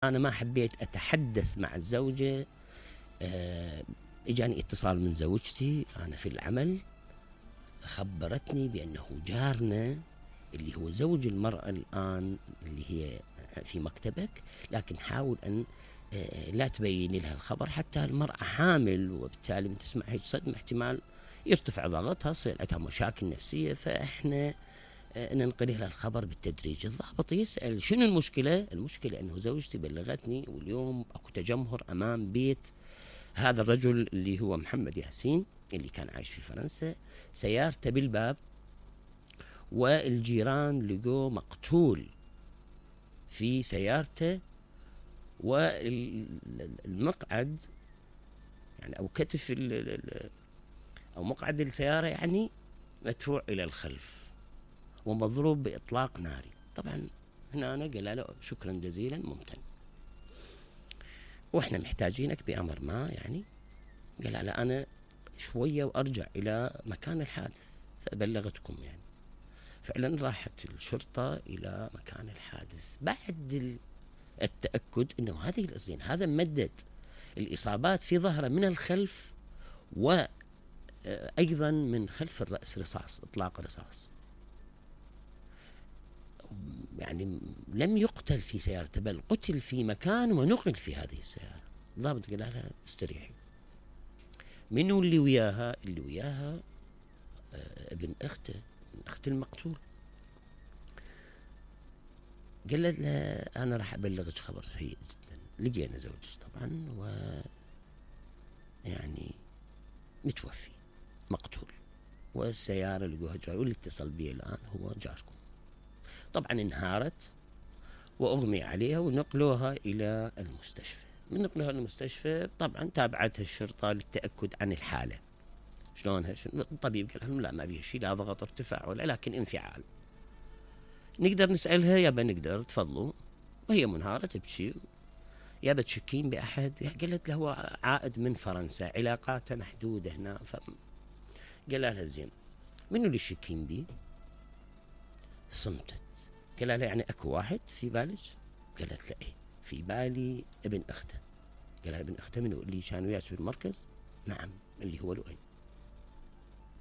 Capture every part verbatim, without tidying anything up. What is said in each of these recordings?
أنا ما حبيت أتحدث مع الزوجة. آه، إجاني اتصال من زوجتي أنا في العمل، خبرتني بأنه جارنا اللي هو زوج المرأة الآن اللي هي في مكتبك، لكن حاول أن آه، لا تبين لها الخبر حتى المرأة حامل، وبالتالي من تسمع هيك صدمة احتمال يرتفع ضغطها، تصير عندها مشاكل نفسية، فإحنا ننقل لها الخبر بالتدريج. الضابط يسأل شنو المشكلة؟ المشكلة أنه زوجتي بلغتني واليوم أكو تجمهر أمام بيت هذا الرجل اللي هو محمد ياسين اللي كان عايش في فرنسا، سيارته بالباب والجيران لقوه مقتول في سيارته، والمقعد يعني أو كتف أو مقعد السيارة يعني مدفوع إلى الخلف ومضروب بإطلاق ناري. طبعا هنا أنا قال له شكرا جزيلا ممتن، وإحنا محتاجينك بأمر ما، يعني قال له أنا شوية وأرجع إلى مكان الحادث فأبلغتكم. يعني فعلا راحت الشرطة إلى مكان الحادث بعد التأكد أنه هذه الأصين هذا ممدد الإصابات في ظهره من الخلف وأيضا من خلف الرأس رصاص، إطلاق رصاص. يعني لم يقتل في سيارته بل قتل في مكان ونقل في هذه السيارة. الضابط قال لها استريحي. منو اللي وياها؟ اللي وياها آه ابن أخته، أخت المقتول. قال لها أنا راح أبلغك خبر سيء جدا، لقينا زوجك طبعا و يعني متوفي مقتول، والسيارة لقوها جار، واللي اتصل بي الآن هو جاركم. طبعا انهارت وأغمي عليها ونقلوها إلى المستشفى. من نقلوها المستشفى طبعا تابعتها الشرطة للتأكد عن الحالة شلونها. الطبيب قال لهم لا ما بيها شيء، لا ضغط ارتفاع ولا، لكن انفعال. نقدر نسألها يابا؟ نقدر، تفضلوا. وهي منهارة تبكي، يابا تشكين بأحد؟ قالت له هو عائد من فرنسا، علاقاته محدودة هنا. ف... قال لها زين منو اللي تشكين بيه؟ صمتت. قال لها يعني اكو واحد في بالك؟ قالت له ايه في بالي ابن اخته. قال لها ابن اخته منو؟ اللي كان وياك في المركز؟ نعم اللي هو لؤي.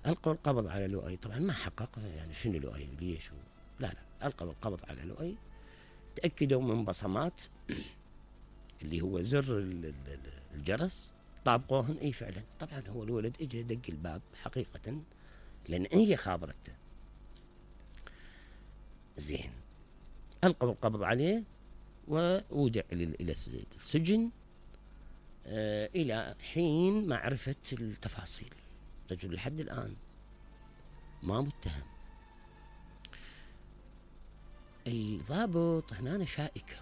القوا القبض على لؤي. طبعا ما حقق يعني شنو لؤي ليش و... لا لا القوا القبض على لؤي. تاكدوا من بصمات اللي هو زر الجرس، طابقوهن اي فعلا. طبعا هو الولد اجى دق الباب حقيقه لان هي خابرته. زين ألقوا القبض عليه وودع إلى السجن آه إلى حين معرفة التفاصيل. رجل لحد الآن ما متهم. الضابط هنا شائكة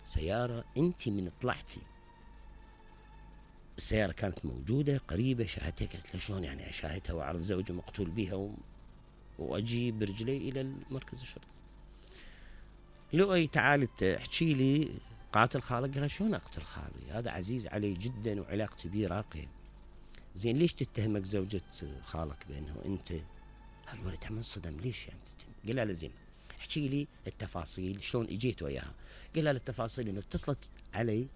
سيارة، أنت من طلعتي السيارة كانت موجودة قريبة، شاهدتها. قلت له شلون يعني أشاهدها وأعرف زوجي مقتول بها و... وأجي برجلي إلى المركز الشرطي؟ لؤي تعال احكي لي قاتل خالك. قال شلون اقتل خالي؟ هذا عزيز علي جدا وعلاقتي بيه راقيه. زين ليش تتهمك زوجة خالك بانه انت؟ هالولد عم انصدم ليش يعني تتهم؟ قال له زين احكي لي التفاصيل شلون اجيت وياها. قال له التفاصيل انه اتصلت علي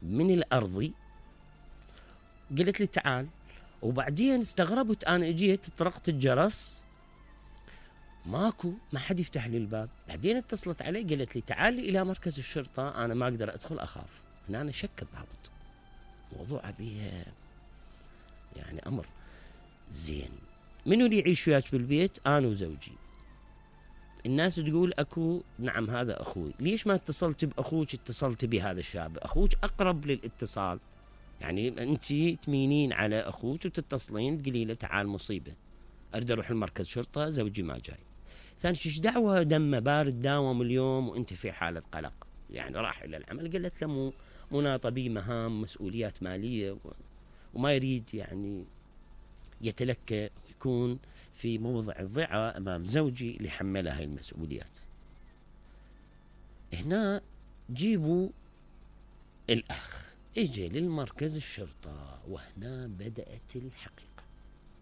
من الارضي، قالت لي تعال، وبعدين استغربت انا اجيت طرقت الجرس ماكو، ما حد يفتح لي الباب. بعدين اتصلت علي قالت لي تعالي الى مركز الشرطه انا ما اقدر ادخل اخاف. هنا أنا شك الضابط، موضوع بيه يعني امر. زين منو اللي يعيش وياك بالبيت؟ انا وزوجي. الناس تقول اكو، نعم هذا اخوي. ليش ما اتصلت باخوك؟ اتصلت بهذا الشاب، اخوك اقرب للاتصال. يعني انت تمينين على اخوك وتتصلين تقولي له تعال مصيبه اريد اروح المركز شرطه زوجي ما جاي. ثاني شيء دعوه دمه بارد داوم اليوم وانت في حاله قلق، يعني راح الى العمل. قالت له مو مناطه بي مهام مسؤوليات ماليه و... وما يريد يعني يتلكى ويكون في موضع الضعه امام زوجي اللي حمله هاي المسؤوليات. هنا جيبوا الاخ اجى للمركز الشرطه، وهنا بدات الحقيقه.